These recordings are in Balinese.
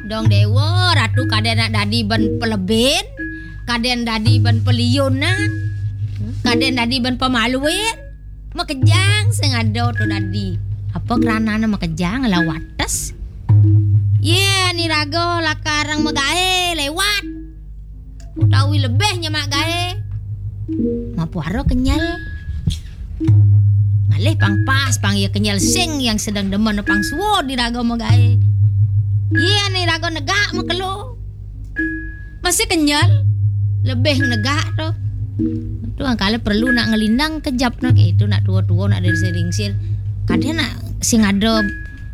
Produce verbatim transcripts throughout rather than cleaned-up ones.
Dong déwa, Ratu kadén nak dadi bén pelebin, kadén dadi bén peliunan, kadén dadi bén pemaluin. Makejang sing ada to dadi. Apa keranané makejang lah wates? Yén iraga lakar magaé léwat utawi lebih nyemak gaé, mapuara kenyel. Ngalih pang pas, pang ya kenyel sing yang sedang demen pang suud iraga magaé. Yén iraga negak makelo, masih kenyel, lebih negak to. To angkala perlu nak ngelindang kejap nak, itu nak tua-tua nak dari sering sir. Kadén nak sing ada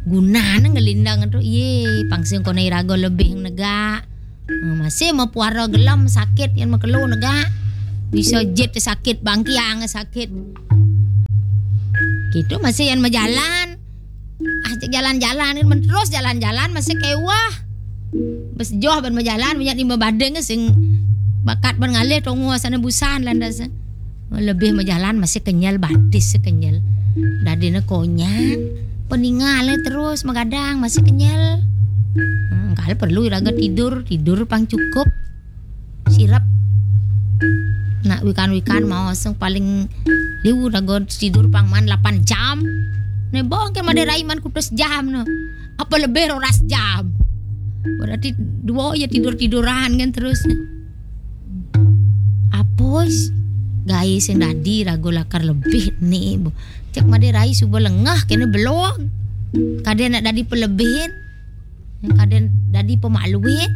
gunané ngelindang to. Yé, pang sing koné iraga lebih negak. Hmm, masih mapuara gelem sakit yén makelo negak. Bisa jit sakit, bangkiang sakit. Gitu masih yén majalan. Ah, cek jalan-jalan, men terus jalan-jalan masih kéweh. Bes joh bén majalan, banyak nimba badeng sing bakat bén ngalih tongo asana busan landas. Lebih majalan masih kenyel, batis kenyel. Dadiné konyang, peningalé terus magadang masih kenyel. Hmm, kalau perlu iraga tidur, tidur pang cukup. Sirep. Nak wikan-wikan mau sing paling liu raga tidur pang man lapan jam. Né bong ke madé rai man kutus jam no. Apa lebih roras jam. Berarti dua ya tidur-tiduran kan terus. Apa s-, gaé sing dadi raga lakar lebih né, bo. Cek madé rai suba lengah kéné belog. Kadén nak dadi pelebihin. Kadén dadi pemaluin.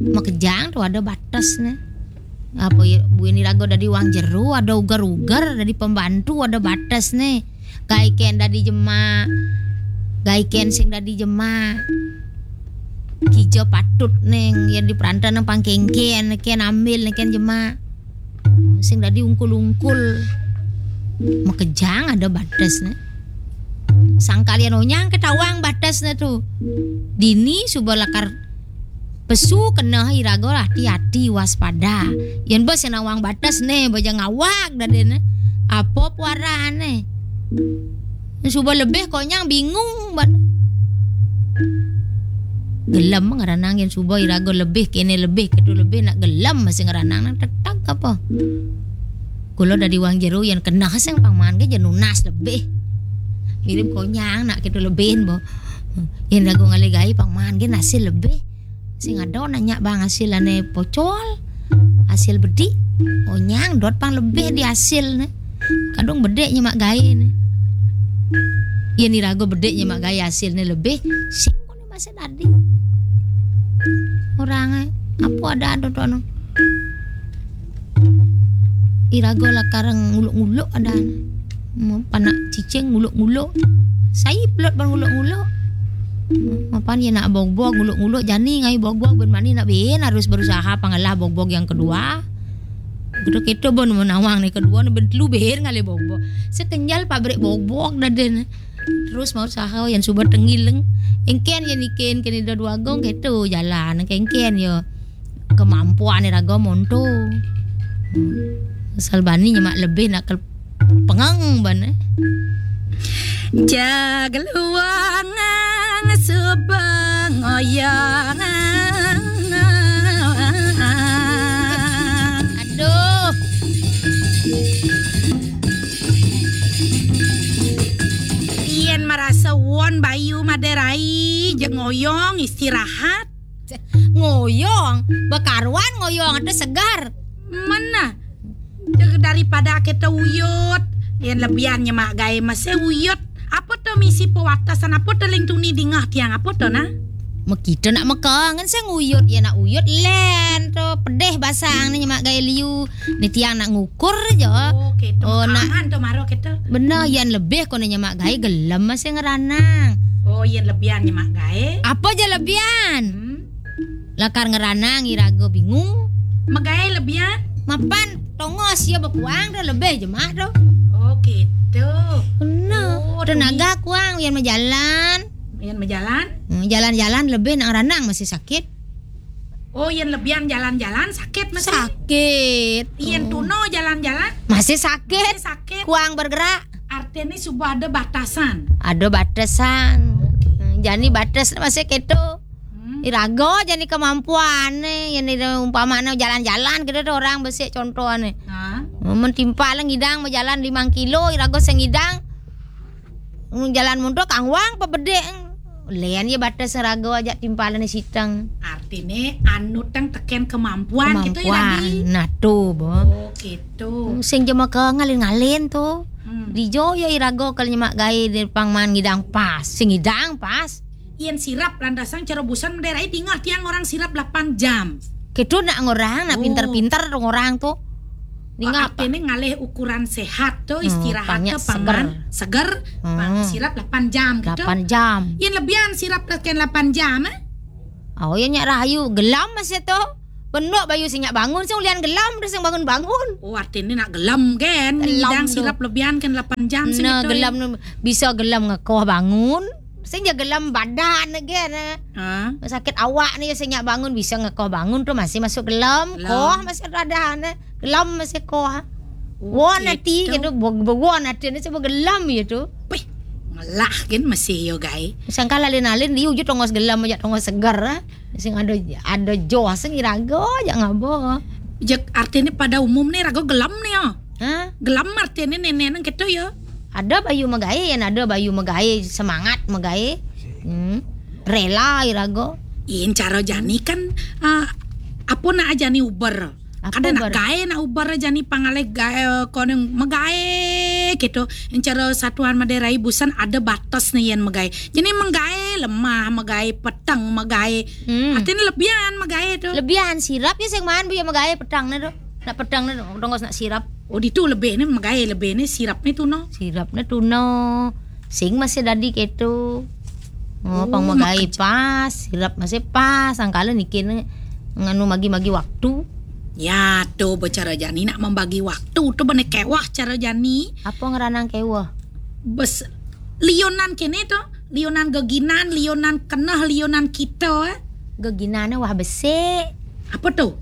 Makejang to ada bates né. Apa ya, buin iraga dadi wang jero, ada uger-uger, dadi pembantu, ada bates né. Gaé kén dadi jemak. Gaé kén sing dadi jemak. Kija patut ning yén di perantan nang pangkéngkén, kén ambil, kén jemak. Sing dadi ungkul-ungkul. Makejang ada bates né. Sangkal yén onyang ketawang bates né to. Dini suba lakar pesu keneh iraga hati-hati waspada. Yén bes nawang bates né, baja ngawag dadiné. Apa puarané? Suba lebih konyang bingung ban. Gelem ngranang yén suba iraga lebih kéné lebih kéto lebih nak gelem masih ngranang nang teteg apa. Kula dadi wang jero yén keneh sing pangman ke ja nunas lebih. Mirip konyang nak kéto lebihin bo. Yén raga ngalih gaé pangman ke hasil lebih. Sing ada nanya bang hasil ané pocol, hasil bedik, onyang dot pang lebih di hasil né. Kadung bedik nyemak gaé né. Yén iraga bedik nyemak gaé hasil né lebih, sing koné masih dadi. Orang apa ada ada to no. Iraga lakar nguluk-nguluk ada. Panak cicing nguluk-nguluk. Sai pelot bang nguluk-nguluk. Mapan ya nak bogbog nguluk-nguluk jani ngai bogbog ben mani nak ben harus berusaha pangalah bogbog yang kedua. Kedua kita bon menawang nih kedua nih ben telu ber ngalih bogbog. Sekenyal pabrik bogbog daden. Terus mau usaha yang suba tengileng. Engken ya niken kene dua gong gitu jalan engken ya. Kemampuan iraga monto. Asal bani nyemak lebih nak ke pengang ban. Jaga luang suba ngoyang. Aduh. Yen marasa won bayu maderai, jeg ngoyong istirahat. Ngoyong, bekaruan ngoyong ate segar. Mana? Jeg daripada kita uyut, yen lebihan nyemak gae mese uyut. Apa to misi pewatasan apa to ling tuni dingah tiang apa to nah? Mekita nak mekangen sing uyut, ya nak uyut len to pedih basang ni nyemak gae liu. Ni tiang nak ngukur je. Oh, keto. Oh, nak. Makanan to maro keto. Bener, yan lebih ko ni nyemak gae gelem masih ngeranang. Oh, yen lebihan nyemak gae. Apa je lebihan? Hmm. Lakar ngeranang iraga bingung. Megae lebihan? Mapan tongos ya bekuang dah lebih jemak tu. Oh, gitu. Bener. Oh, tenaga kuang yan majalan. Yan majalan? Hmm, jalan-jalan lebih nak ngeranang masih sakit. Oh, yen lebihan jalan-jalan sakit masih? Sakit. Yen tuno jalan-jalan? Masih sakit. Masih sakit. Kuang bergerak. Artinya suba ada batasan. Ada batasan. Hmm, Jani bates masih keto. Hmm. Irago jani kemampuan nih, yang ini umpama jalan-jalan gitu tuh orang besik contohnya. Ha? Mentimpal ngidang berjalan lima kilo, irago sengidang. Hmm, jalan mundur kangwang pebedek. Lian ya bates rago aja timpalan siteng. Artine anu teng teken kemampuan gitu ya tadi. Nah tuh, Bo. Oh, gitu. Hmm, sing jema ke ngalin-ngalin tuh. Hmm. Di jo ya irago kalau nyemak gae di pangman ngidang pas. Sing ngidang pas. Yen sirap landasan cara busan daerah tinggal tiang orang sirap delapan jam. Ketu nak ngorang, nak pinter-pinter dong orang tuh. Tinggal apa? Artine ngalih ukuran sehat tuh, hmm, istirahat tuh paman seger. Seger, hmm, sirap delapan jam gitu. Delapan jam. Yen lebihan sirap teken delapan jam, eh? Oh, ya nyak rahayu, gelam masih tuh. Penuk bayu sing nyak bangun, sing ulian gelam, terus sing bangun-bangun. Oh, artine nak gelam kan? Gelam ngidang tuh. Sirap lebihan kan delapan jam sing nah, gitu, gelam ya? Tuh, bisa gelam ngekoh bangun. Sing ya gelam badan again, eh. Ha? Sakit awak nih, sing nyak bangun, bisa ngekoh bangun tuh masih masuk gelam. Gelam. Koh masih ada, eh. Gelam masih koh. Oh, won gitu. Ati gitu, bo-, bo-, won ati ini coba gelam ya tuh. Wih, ngelah kan masih yo, gai. Sangka lalin-lalin, dia wujud tongos gelam aja, tongos segar, eh. Sing ada, ada joh, sing irago aja ngabo. Jek artine pada umum nih, rago gelam nih ya. Hah? Gelam artine nenek nang gitu ya. Ada bayu megae, yang ada bayu megae, semangat megae. Hmm. Rela irago. Yen cara jani kan, eh, apa nak jani uber? Apa ada nak uber? Gae nak uber jani pangalih gae, eh, koneng megae gitu. Yen cara satuan Madai Rai busan ada batas nih yen megae. Jani megae lemah, megae peteng, megae. Hmm. Artine lebihan megae tuh. Lebihan sirap ya sing maan bu ya megae peteng nih tuh. Nak peteng nih tuh, tongos nak sirap. Oh, ditu lebih nih megae, lebih nih sirap nih tuh no. Sirap nih tuh no. Sing masih dadi ketu. Oh, pang megae pas, sirap masih pas, sangkala niki ne nganu magi-magi waktu. Ya, tuh, bicara jani nak membagi waktu, tuh bene kewah cara jani. Apa ngeranang kewah? Bes, lionan kene tuh, lionan geginan, lionan keneh, lionan kita, eh. Geginane wah besik. Apa tuh?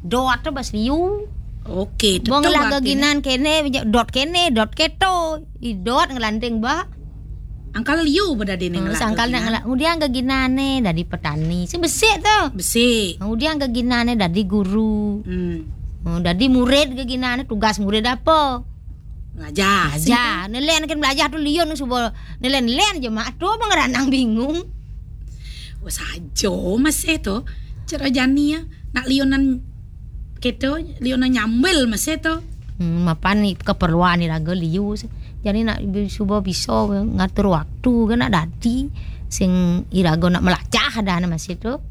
Dot tuh bas liu. Oke, tuh. Bong lah artinya. Geginan kene, dot kene, dot keto. I dot ngelanting, bah. Angkal liu beda dene. Hmm, ngelak sangkal geginan. Nak ngelak. Kemudian geginane dadi petani. Sing besik tuh. Besik. Kemudian geginane dadi guru. Hmm. Oh, dadi murid geginane, tugas murid apa? Belajar. Belajar. Nelen kan belajar tuh liun subo nelen-len je mak tuh apa ngeranang bingung. Wah, sajo masih tuh. Cara jani ya. Nak liunan keto, liunan nyambil masih tuh. Hmm, mapan nih keperluan nih raga liu. Jadi nak bi-, suba bisa ngatur waktu kan nak dadi sing iraga nak melacah dah masih tuh.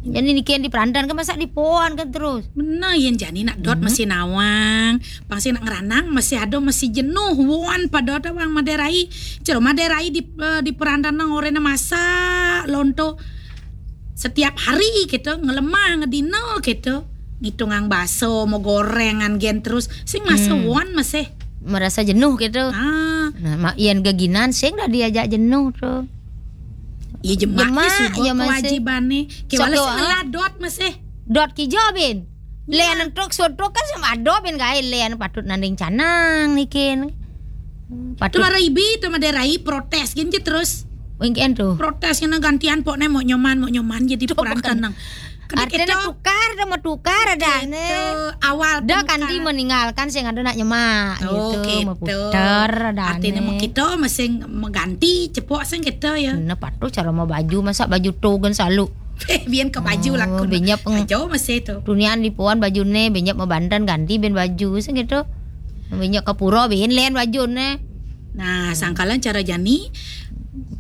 Jadi niki yang diperantan kan masa dipoan kan terus. Bener, yen jani nak dot masih nawang, pasti nak ngeranang masih ada masih jenuh, won pada ada wang Madai Rai. Cero Madai Rai di, eh, diperantan nang orena masak lonto setiap hari gitu, ngelemah, ngedino gitu. Ngitungang baso, mau gorengan gen terus, sing masa won masih. Merasa jenuh gitu. Ah. Nah, mak yen geginan sing dah diajak jenuh tuh. Iya jemaknya jemak, suba ya masih. Kewajibane. Kewala sing ngeladot masih. Dot kijo bin. Iya. Len truk soto kan sama ado bin gae len patut nanding canang nikin. Patut. Tuh mara ibi, tuh Madai Rai protes gin je terus. Wingkian tuh. Protes kena gantian pokne mau nyoman, mau nyoman jadi tuh perantan nang. Artinya kita tukar, dah mau tukar ada ne. Awal dah kanti meninggalkan sing ada nak nyemak gitu, gitu. Mau putar ada. Artinya mau kita masing mengganti cepok sing kita ya. Nah, patuh cara mau baju, masa baju togen selalu. Bian ke baju lah. Benyap aja masih itu. Tunian di puan baju ne, benyap mau bandan ganti ben baju sing gitu. Benyap ke pura ben len baju ne. Nah, sangkalan cara jani,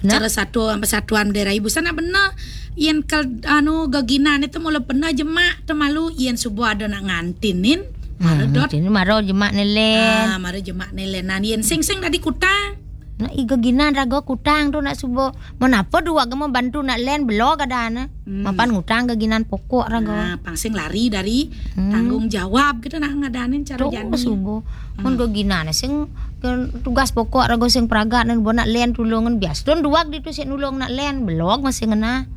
nah. Cara satu sama satuan daerah ibu sana bener. Yen kal anu geginan itu mula bener jemak temalu yen subuh ada nak ngantinin. Mara dot. Ini mara jemak nelen. Ah, mara jemak nelen. Nah, yen sing-sing tadi kutang. Nah, i geginan raga kutang tu nak subuh. Menapa dua gema bantu nak len belok ada ana. Hmm. Mapan ngutang geginan pokok raga. Nah, pangsing lari dari tanggung jawab gitu nak ngadanin cara jani. Subuh. Mun geginan sing ke tugas pokok raga sing pragat nan bo nak len tulungan bias. Don duak ditu sik nulung nak len belok masih ngena.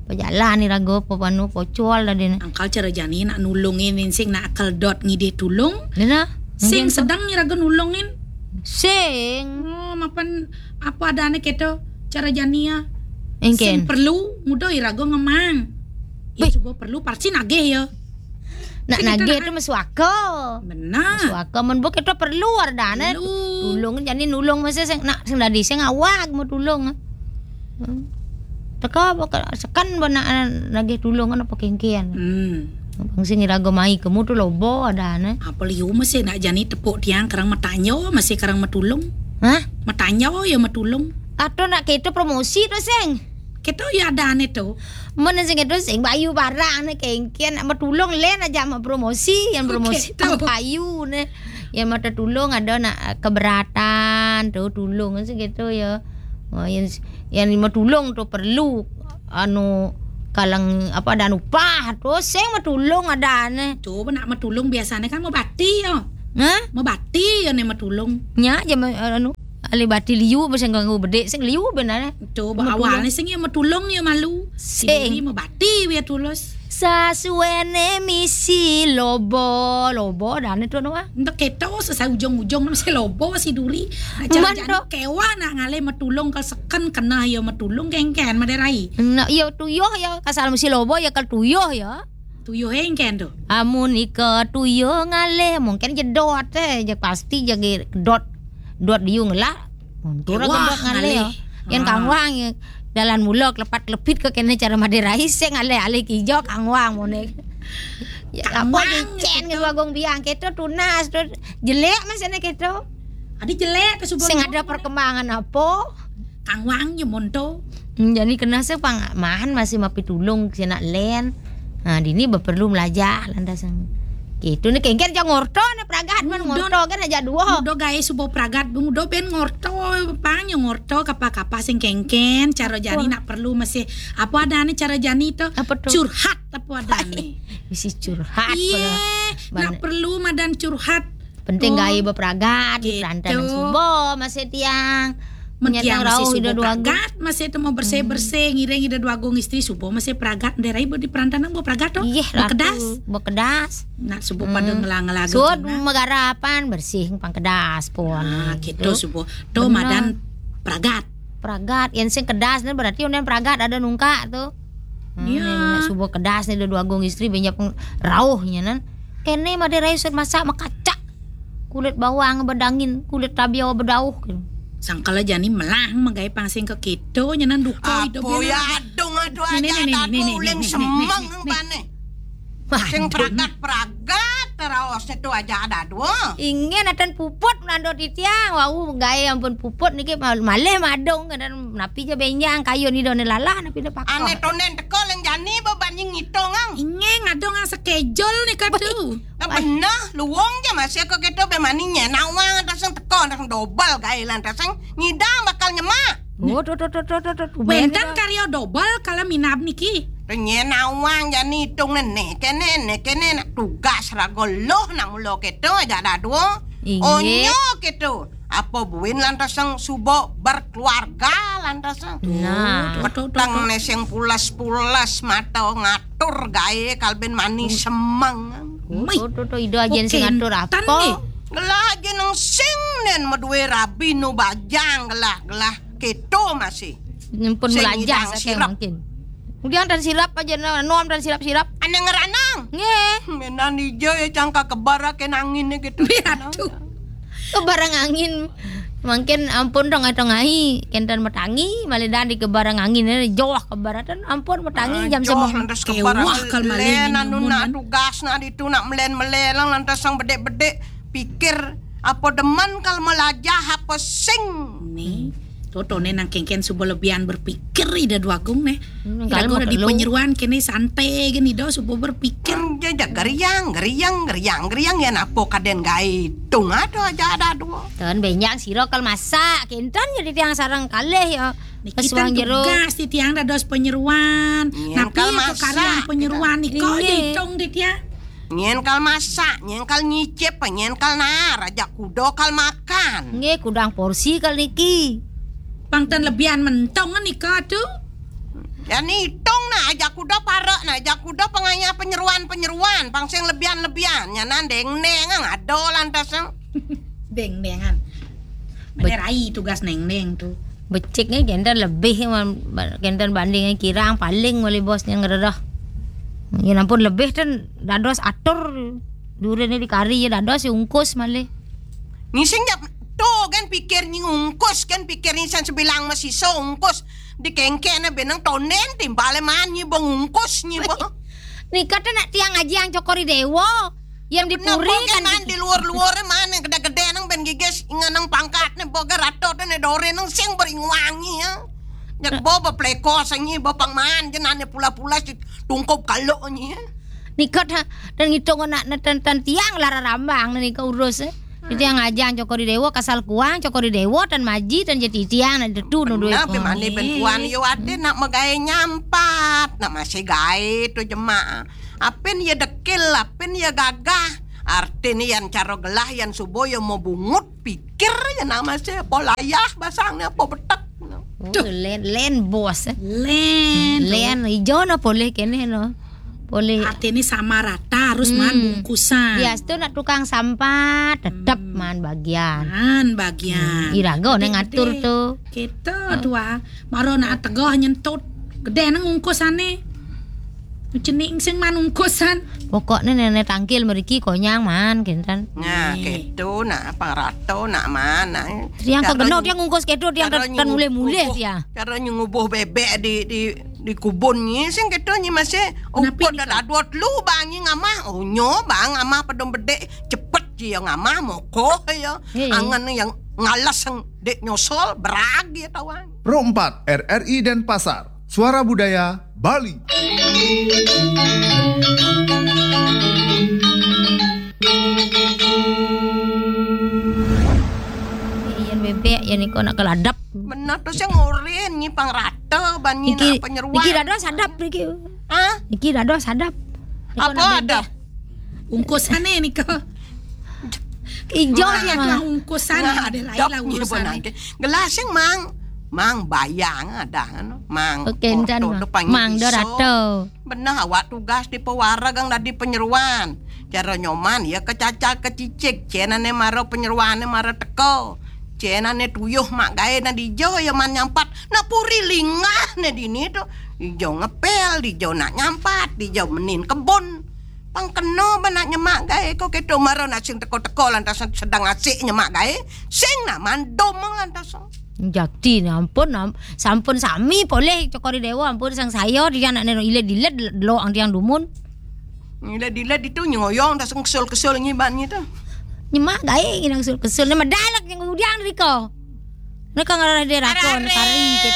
Pejalan ni raga pepanu pocol tadi ni. Angkal cara jani nak nulungin sing nak akal dot ngidih tulung. Nena. Sing sedang ni raga nulungin. Sing. Oh, mapan apa adane keto cara jani ya. Engken. Sing perlu, nguda iraga ngemang. Ya, cuba perlu, pasti nagih ya. Nak nagih tu masuaka. Benar. Masuaka, mun buk itu perlu ardane. Perlu. Tulung, jani nulung masih sing, nak sing dadi sing awag mau tulung. Hmm. Teka apa ke-, seken ba nak nagih tulung apa kengkian. Hmm. Bang sing iraga mai kemu tu loba ardane. Apa liu masih nak jani tepuk tiang karang matanyo, masih karang matulung. Hah? Matanyo ya matulung. Atau nak kita promosi tu sing. Kita ya ardane tu. Mana sing itu sing bayu barang ne kengkian nak matulung len aja mau promosi, yang promosi tang bayu ne. Yang mata tulung ada nak keberatan tu tulung sing gitu ya. Oh, yang, yang mau tulung tu perlu anu kalang apa dan upah tu sing mau tulung ada ne. Tu nak mau tulung biasanya kan mau bati ya. Hah? Mau bati ya ne mau tulung. Nya aja mau anu ahli bati liu sing ganggu bedik sing liu benar. Tu awalnya sing ya mau tulung ya malu. Sing. Diri mau bati ya tulus. Sasuene misi lobo, lobo dan itu nuah. Entah keto sesai ujung-ujung masih lobo si duri. Nah, cara jani kewa nak ngalih matulung kal seken kena ya matulung kengken maderai. Nak ya tuyuh ya kasal misi lobo ya kal tuyuh ya. Tuyuh engken tu. Amun ika tuyuh ngalih mungkin jedot eh je pasti jagi dot dot diung lah. Mundur kedot ngalih. Yan kangwang ya. Dalan mula kelepat kelepit ke kene cara maderai sing alih-alih kijo kangwang mone. Ya apa licen ke bagung biang keto tunas tu jelek masih ne keto. Adi jelek ke subuh. Sing ada perkembangan apa? Kangwang je monto. Hmm, jadi kena se pang mahan masih mapi tulung sina len. Ha, dini berperlu melajah lantas. Gitu ni kengken ja ngorto ni pragat man ngorto kan aja dua. Udah gae subo pragat bung udah ben ngorto pang yo ngorto kapa-kapa sing kengken cara jani nak perlu masih apa ada ni cara jani tu. Apa tu? Curhat apa ada ni. Misi curhat. Iya, nak perlu madan curhat. Penting gae bepragat di perantanan subo masih tiang. Menyatang rauh ida dua agung. Pragat masih temu bersih-bersih ngiring ida dua agung istri subo masih pragat nderai bo di perantanan bo pragat tu. Iya, bekedas. Bekedas. Nak subo pada ngelang-ngelang. Sud megarapan bersih pang kedas pun. Nah, gitu subo. Tu madan pragat. Pragat yang sing kedas ni berarti unden pragat ada nungkak tu. Hmm, iya. Subo kedas ni dua agung istri banyak rauhnya nan. Kene maderai sud masak makacak. Kulit bawang bedangin, kulit tabiau bedauh. Sangkala jani melah magai pangsing ke kito nyenan duka hidup. Apa ya adung aduh aja ada kuling semeng pane. Sing pragat-pragat teraos itu aja ada dua. Ingin atan puput melando titiang. Wau gae ampun puput niki malih madung dan napi je benjang kayu ni done lalah napi de pakah. Ane tonen teko leng jani bebanjing ngitung ang. Ingin adung ang sekejol ni kadu. Nah, bener, luwung je masih ke kita be mani nyen awang atas yang teko atas yang dobel gae lan atas yang ngidang bakal nyemak. Oh, tu tu tu tu tu tu. Wenten karya dobel kala minab niki. Nyen awang jani hitung nene kene ne kene nak tugas rago loh nak mulo kita aja dadu. Inggih. Onyo kita. Apa buin lantas yang subo berkeluarga lantas yang. Nah. Petang ne sing pulas-pulas mata ngatur gae kalben mani semeng. Tuh, tuh, tuh, ida ajen sing ngatur apa? Gelah ajen nang sing nen madue rabi nu bajang gelah, gelah keto masih. Nyempun melajah saking mungkin. Kemudian dan sirap aja no, nom dan sirap-sirap. Ane ngeranang. Nggih. Menan ijo ya cangka kebar ake nangin gitu. Aduh. Kebarang angin. Mungkin ampun dong atau ngai kentan matangi malidan di kebarang angin ini joh kebaratan ampun matangi jam joh semua. Lantas kebarang kewah kal malen anu nak tugas nak ditu nak melen-melen lantas sang bedek-bedek pikir apa demen kal melajah apa sing. Nih. Totone nang kengken subo lebihan berpikir ida dua agung neh. Hmm, ida kalau udah di penyeruan kene santai gini do subo berpikir. Hmm, jajak geriang, geriang, geriang, geriang ya napo kaden gai tung ado aja ada dua. Ten benjang siro kal masak, kenten jadi tiang sarang kalih ya. Niki kan jero. Tugas di tiang dados penyeruan. Napi kal masak, penyeruan niko ditung di tiang. Nyen kal masak, nyen kal nyicip, nyen kal naar, aja kudo kal makan. Nggih, kudang porsi kal niki. Pang ten lebihan mentong nika tu. Ya nitung nah, aja kudo parek nah, aja kudo pengaya penyeruan-penyeruan, pang sing lebihan-lebihan, nyanan deng-deng ang ado lantas ang. Deng-dengan. Bener ai tugas neng-neng tu. Becik ni kenten lebih man, kenten banding kirang paling malih bos nyang ngeredah. Ya ampun lebih ten dados atur. Durin ni dikari ya dados ya ungkus malih. Ngising jap to kan pikir nyi ungkus kan pikir nyi san sebilang masisa ungkus. Dikengkene benang tonden timbale man nyi bang ungkus nyi bang. Nika ten nak tiang aji yang cokori dewa. Yang dipuri kan di luar-luar mana gede-gede nang ben gigis ngenang pangkat ne boga rato ne dore nang sing beringuangi ya. Nyak bo bepleko sangi bo pangman jenane pula-pula si tungkup kalo nyi ya. Nika ta- dan ngitung nak neten tan tiang lara rambang ne nika urus eh. Tiang ajang cokori dewa kasal kuang cokori dewa tan maji tan jati tiang nak detu nu duit. Nah, pemane ben kuan yo ade nak megae nyampat, nak masih gae tu jemak. Apen ya dekil, apen ya gagah. Artine yan caro gelah yan subo ya mau bungut pikir ya nama se apa layah basang ne apa betek. Oh, len len bos. Eh. Len. Len ijo no poleh kene no. Poleh. Artine sama rata harus man bungkusan. Dia tu nak tukang sampah tetap man bagian. Man bagian. Iraga ne ngatur tu. Kita tua maro nak tegah nyentut. Gede nang ungkusane. Cening sing man ungkusan. Pokokne nenek tangkil meriki konyang man kenten. Nah, keto nak apa rato nak man. Tiang kok genok tiang ungkus keto tiang tan mulih-mulih tiang. Cara nyu ngubuh bebek di di di kubun nyi sing keto nyi masih ukut dah dadot lu bang nyi ngamah. Oh nyo bang ngamah pedom bedek cepet ji yang ngamah mokoh ya. Angan yang ngalas yang dek nyosol berag ya tawang. Pro empat R R I Denpasar. Suara Budaya Bali. Iyan bebek ya niko nak keladap. Benar tu sing oren nyi pang rata ban nyi nak penyeruan. Iki rada sadap iki. Hah? Iki rada sadap. Apa ada? Ungkusane niko. Ijo ya mah. Ungkusan ada lain lah ungkusan. Gelas yang mang mang bayang ada anu mang. Oke, entan mang do rato. Benah awak tugas di pewareg ang dadi penyeruan. Cara nyoman ya kecacal kecicik cenane mara penyeruane mara teko. Cenane tuyuh mak gae na dijo ya man nyampat. Nak puri lingah ne dini tu. Dijo ngepel, dijo nak nyampat, dijo menin kebun. Pang keno ba nak nyemak gae ko keto mara nak sing teko-teko lantas sedang asik nyemak gae. Sing nak mandom lantas. Jakti ni ampun am, sampun sami poleh cokori dewa ampun sang saya dia nak neno iled-iled lo ang tiang dumun. Iled-iled itu nyoyong dah sing kesel-kesel ngiban gitu. Nyemak gae ngidang kesel-kesel ni medalek yang udiang riko. Mereka ngarah dia rakon kari kita.